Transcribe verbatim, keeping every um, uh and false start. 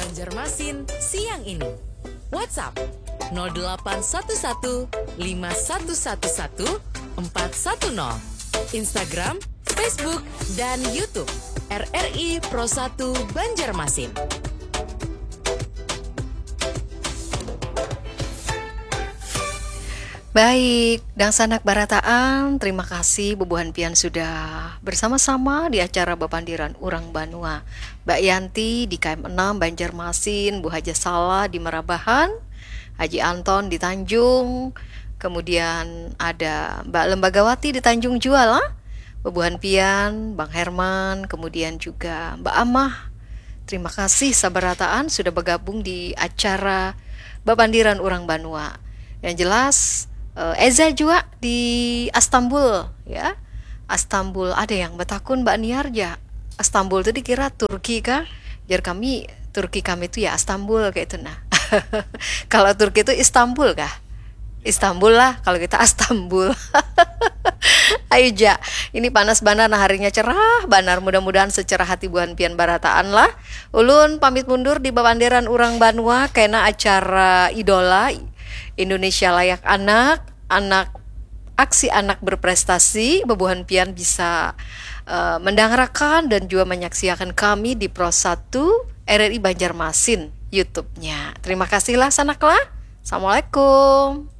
Banjarmasin siang ini. WhatsApp nol delapan satu satu lima satu satu satu empat satu nol. Instagram, Facebook, dan YouTube R R I Pro satu Banjarmasin. Baik, dangsanak barataan, terima kasih bubuhan pian sudah bersama-sama di acara Bapandiran Urang Banua. Mbak Yanti di K M enam Banjarmasin, Bu Haja Salah di Marabahan, Haji Anton di Tanjung, kemudian ada Mbak Lembagawati di Tanjung jua lah, bubuhan pian, Bang Herman, kemudian juga Mbak Amah. Terima kasih sabarataan sudah bergabung di acara Bapandiran Urang Banua. Yang jelas, eh, Eza jua di Astambul, ya. Astambul, ada yang batakun, Mbak Niar, ja. Astambul tu dikira Turki kah? Jar kami, Turki kami tu ya Astambul, kayak itu nah. Kalau Turki tu Istanbul kah? Istanbul lah, kalau kita Astambul. Ayo ja, ini panas banar, nah harinya cerah banar. Mudah-mudahan secerah hati buhan pian barataan lah. Ulun pamit mundur di Bapandiran Urang Banua, kena acara Idola Indonesia Layak Anak, anak aksi anak berprestasi, bubuhan pian bisa, eh, mendangarakan dan juga menyaksiakan kami di Pro satu R R I Banjarmasin YouTube-nya. Terima kasih lah, sanak lah. Assalamualaikum.